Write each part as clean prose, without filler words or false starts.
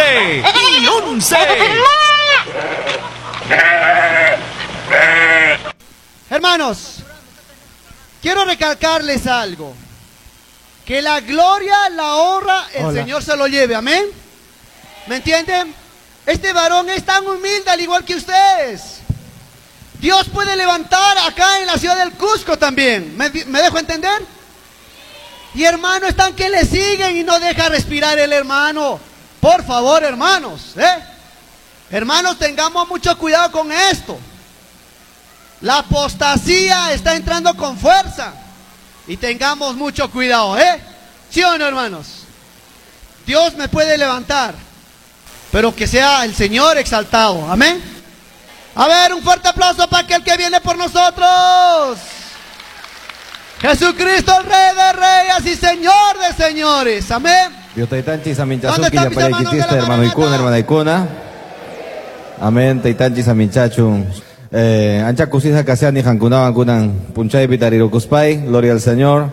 11 y 11. Hermanos, quiero recalcarles algo. Que la gloria, la honra, el Hola. Señor se lo lleve. Amén. ¿Me entienden? Este varón es tan humilde al igual que ustedes. Dios puede levantar acá en la ciudad del Cusco también. ¿Me dejo entender? Y hermano, están que le siguen y no deja respirar el hermano. Por favor, hermanos, ¿eh? Hermanos, tengamos mucho cuidado con esto. La apostasía está entrando con fuerza. Y tengamos mucho cuidado, ¿eh? ¿Sí o no, hermanos? Dios me puede levantar, pero que sea el Señor exaltado. Amén. A ver, un fuerte aplauso para aquel que viene por nosotros. Jesucristo, el Rey de Reyes y Señor de Señores. Amén. Dios taytanchis ¿Dónde aminchasuki están mis hermanos de llapallaykichista la hermano ikuna Maranata? hermana ikuna. Amén taytanchis aminchachun. Ancha kusisqa kashani qankunawan kunan punchaypi tarirukuspay. Gloria al Señor.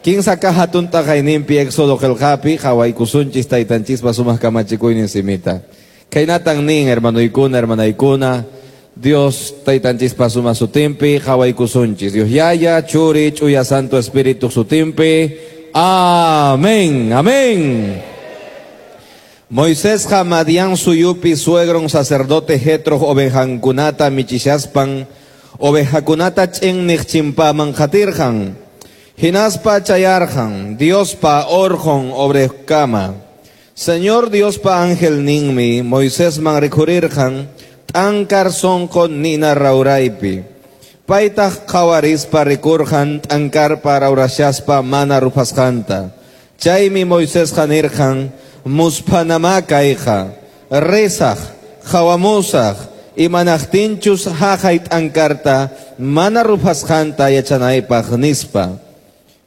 Kinsa kaq hatun t'aqayninpi Éxodo qillqapi qhawaykusunchis taytanchispa sumaq kamachikuynin simita. Khaynatan nin hermanoykuna hermanaykuna Dios taytanchispa sumaq sutinpi qhawaykusunchis. Dios Yaya, Churi, Ch'uya Santo Espíritu sutinpi. Amén, amén. Moisésqa Madián suyupi suegron sacerdote Jetro ovejankunata michishaspan ovejakunata ch'inniq chimpaman qatirqan. Hinaspa chayarqan Diospa orqon Horebkama. Señor Diospa angelninmi Moisesman rikhurirqan t'ankar sonqo nina rawraypi. Paytaq qhawarispa rikurqan t'ankarpa rawrashaspa mana ruphasqanta. Chaymi Moisesqa nirqan musphanamá kayqa, risaq, qhawamusaq, imanaqtinchus haqay t'ankarta mana ruphasqanta yachanaypaq nispa.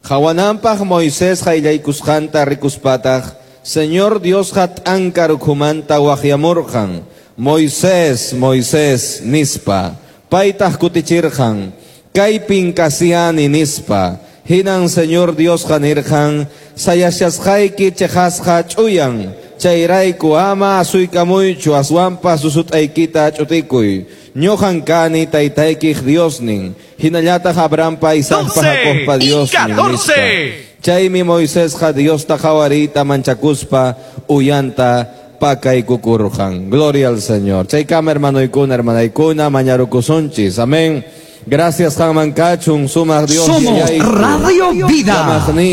Qhawananpaq Moisés qayllaykusqanta rikuspataq, Señor Diosqa t'ankar ukhumanta waqyamurqan, Moisés, Moisés, nispa. Paytaq kutichirqan, kaypin kashani nispa. Hinan Señor Diosqa nirqan, sayashasqayki cheqasqa ch'uyan, chayrayku ama asuykamuychu aswanpas usut'aykita ch'utikuy. Ñuqan kani taytaykiq Diosnin, hinallataq Abrahampa, Isaacpa, 12 Jacobpa y Diosnin, nispa. 14. Chaymi Moisésqa Diosta qhawariyta manchakuspa uyanta pakaykukurqan. Gloria al Señor. Chaykama hermanoykuna, hermanaykuna, mañarukusunchis. Amén. Gracias, qanman kachun, sumaq Dios. Somos Yayayku. Radio Vida. Kamaqni